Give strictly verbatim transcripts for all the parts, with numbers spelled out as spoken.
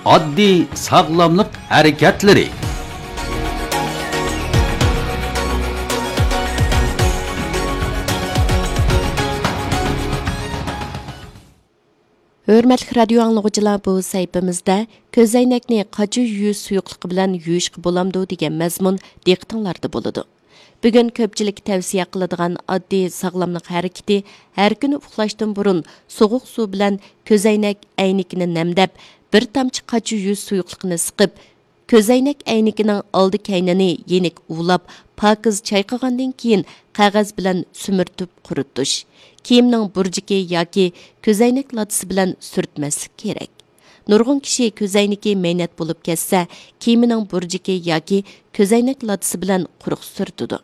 ئاددىي ساغلاملىق ھەرىكەتلىرى. ھۆرمەتلىك رادىيو ئاڭلىغۇچىلار، بۇ سەھىپىمىزدە كۆزەينەكنى قاچا يۇيۇش سۇيۇقلۇقى بىلەن يۇيۇشقا بولامدۇ دېگەن مەزمۇن دىققىتىڭلاردا بولىدۇ. بۈگۈن كۆپچىلىك تەۋسىيە قىلىدىغان ئاددىي ساغلاملىق ھەرىكىتى، ھەر كۈنى ئۇخلاشتىن بۇرۇن سوغۇق سۇ بىلەن كۆزەينەك ئەينىكىنى نەمدەپ، بىر تامچە قاچا يۇيۇش سۇيۇقلۇقىنى سىقىپ، كۆزەينەك ئەينىكىنىڭ ئالدى كەينىنى يېنىك ئۇۋىلاپ، پاكىز چايقىغاندىن كېيىن، قەغەز بىلەن سۈمۈرتۈپ قۇرۇتۇش. كىيىمنىڭ بۇرجىكى ياكى كۆزەينەك لاتىسى بىلەن سۈرتمەسلىك كېرەك. نۇرغۇن كىشى كۆزەينىكى مەينەت بولۇپ كەتسە، كىيىمىنىڭ بۇرجىكى ياكى كۆزەينەك لاتىسى بىلەن قۇرۇق سۈرتىدۇ.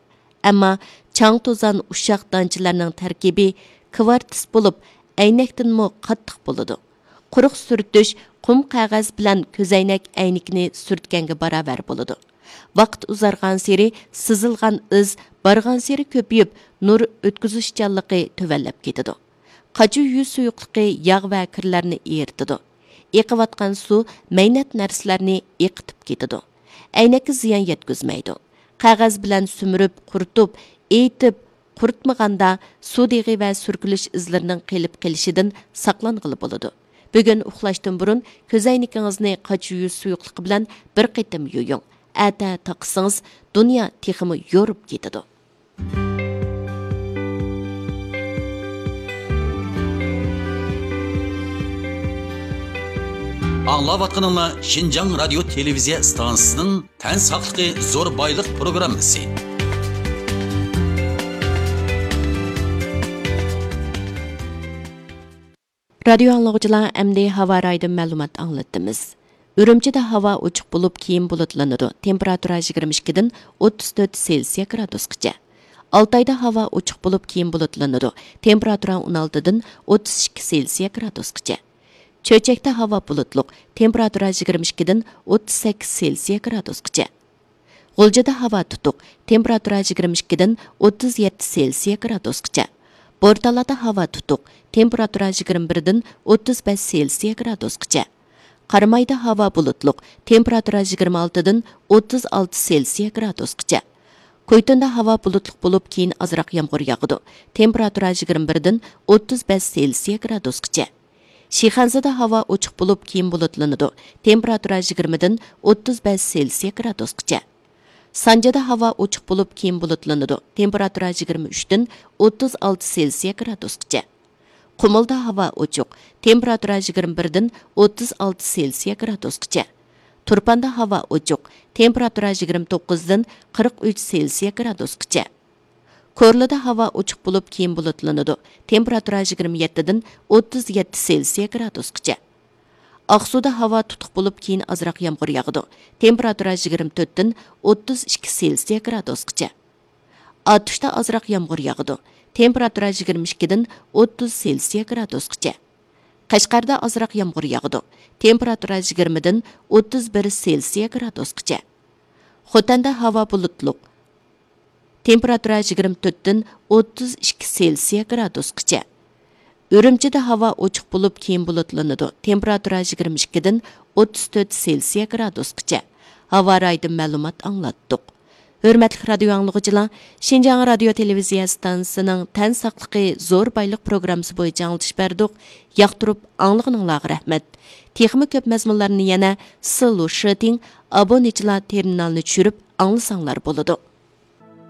ئەمما چاڭ-توزان، ئۇششاق دانچىلارنىڭ تەركىبى كۋارتس بولۇپ، ئەينەكتىنمۇ قاتتىق بولىدۇ. قۇرۇق سۈرتۈش قۇم قەغەز بىلەن كۆزەينەك ئەينىكىنى سۈرتكەنگە باراۋەر بولىدۇ. ۋاقىت ئۇزارغانسېرى سىزىلغان ئىز بارغانسېرى كۆپىيىپ، نۇر ئۆتكۈزۈشچانلىقى تۆۋەنلەپ كېتىدۇ. قاچا يۇيۇش سۇيۇقلۇقى ياغ ۋە كىرلەرنى ئېرىتىدۇ. ئېقىۋاتقان سۇ مەينەت نەرسىلەرنى ئېقىتىپ كېتىدۇ. ئەينەككە زىيان يەتكۈزمەيدۇ. قەغەز بىلەن سۈمۈرۈپ، قۇرۇتۇپ، ئېيتىپ، قۇرۇتمىغاندا سۇ دېغى ۋە سۈركىلىش ئىزلىرىنىڭ قېلىپ قېلىشىدىن ساقلانغىلى بولىدۇ. بۈگۈن ئۇخلاشتىن بۇرۇن كۆزەينىكىڭىزنى قاچا يۇيۇش سۇيۇقلۇقى بىلەن بىر قېتىم يۇيۇڭ. ئەتە تاقىسىڭىز، دۇنيا تېخىمۇ يورۇپ كېتىدۇ. ئاڭلاۋاتقىنىڭلار شىنجاڭ رادىيو تېلېۋىزىيە ئىستانسىسىنىڭ تەن ساقلىقى زور بايلىق پروگراممىسى. رادىيو ئاڭلىغۇچىلار، ئەمدى ھاۋا رايىدىن مەلۇمات ئاڭلىتىمىز. ئۈرۈمچىدە ھاۋا ئوچۇق بولۇپ، كېيىن بۇلۇتلىنىدۇ. تېمپېراتۇرا يىگىرمە ئىككىدىن ئوتتۇز تۆت سېلسىيە گرادۇسقىچە. ئالتايدا ھاۋا ئوچۇق بولۇپ، كېيىن بۇلۇتلىنىدۇ. تېمپېراتۇرا ئون ئالتىدىن ئوتتۇز ئىككى سېلسىيە گرادۇسقىچە. چۆچەكتە ھاۋا بۇلۇتلۇق، تېمپېراتۇرا يىگىرمە ئىككىدىن ئوتتۇز سەككىز سېلسىيە گرادۇسقىچە. غۇلجىدا ھاۋا تۇتۇق، تېمپېراتۇرا يىگىرمە ئىككىدىن ئوتتۇز يەتتە سېلسىيە گرادۇسقىچە. بورتالادا ھاۋا تۇتۇق، تېمپېراتۇرا يىگىرمە بىردىن ئوتتۇز بەش سېلسىيە گرادۇسقىچە. قارامايدا ھاۋا بۇلۇتلۇق، تېمپېراتۇرا يىگىرمە ئالتىدىن ئوتتۇز ئالتە سېلسىيە گرادۇسقىچە. كويتۇندا ھاۋا بۇلۇتلۇق بولۇپ، كېيىن ئازراق يامغۇر ياغىدۇ. تېمپېراتۇرا يىگىرمە بىردىن ئوتتۇز بەش سېلسىيە گرادۇسقىچە. شىخەنزىدە ھاۋا ئوچۇق بولۇپ، كېيىن بۇلۇتلىنىدۇ. تېمپېراتۇرا يىگىرمىدىن ئوتتۇز بەش سېلسىيە گرادۇسقىچە. سانجىدا ھاۋا ئوچۇق بولۇپ، كېيىن بۇلۇتلىنىدۇ. تېمپېراتۇرا يىگىرمە ئۈچتىن ئوتتۇز ئالتە سېلسىيە گرادۇسقىچە. قۇمۇلدا ھاۋا ئوچۇق. تېمپېراتۇرا يىگىرمە بىردىن ئوتتۇز ئالتە سېلسىيە گرادۇسقىچە. تۇرپاندا ھاۋا ئوچۇق. تېمپېراتۇرا يىگىرمە توققۇزدىن قىرىق ئۈچ سېلسىيە گرادۇسقىچە. كورلىدا ھاۋا ئوچۇق بولۇپ، كېيىن بۇلۇتلىنىدۇ. تېمپېراتۇرا يىگىرمە يەتتىدىن ئوتتۇز يەتتە سېلسىيە گرادۇسقىچە. ئاقسۇدا ھاۋا تۇتۇق بولۇپ، كېيىن ئازراق يامغۇر ياغىدۇ. تېمپېراتۇرا يىگىرمە تۆتتىن ئوتتۇز ئىككى سېلسىيە گرادۇسقىچە. ئاتۇشتا ئازراق يامغۇر ياغىدۇ. تېمپېراتۇرا يىگىرمە ئىككىدىن ئوتتۇز سېلسىيە گرادۇسقىچە. قەشقەردە ئازراق يامغۇر ياغىدۇ. تېمپېراتۇرا يىگىرمىدىن ئوتتۇز بىر سېلسىيە گرادۇسقىچە. خوتەندە ھاۋا بۇلۇتلۇق. تېمپېراتۇرا يىگىرمە تۆتتىن ئوتتۇز ئىككى سېلسىيە گرادۇسقىچە. ئۈرۈمچىدە ھاۋا ئوچۇق بولۇپ، كېيىن بۇلۇتلىنىدۇ. تېمپېراتۇرا يىگىرمە ئىككىدىن ئوتتۇز تۆت سېلسىيە گرادۇسقىچە. ھاۋا رايىدىن مەلۇمات ئاڭلاتتۇق. ھۆرمەتلىك رادىيو ئاڭلىغۇچىلار، شىنجاڭ رادىيو تېلېۋىزىيە ئىستانسىسىنىڭ تەن ساقلىقى زور بايلىق پروگراممىسى بويىچە ئاڭلىتىش بەردۇق. ياقتۇرۇپ ئاڭلىغىنىڭلارغا رەھمەت. تېخىمۇ كۆپ مەزمۇنلارنى يەنە سىلۇ شىتىڭ ئابۇنىچىلار تېرمىنالىنى چۈشۈرۈپ ئاڭلىساڭلار بولىدۇ.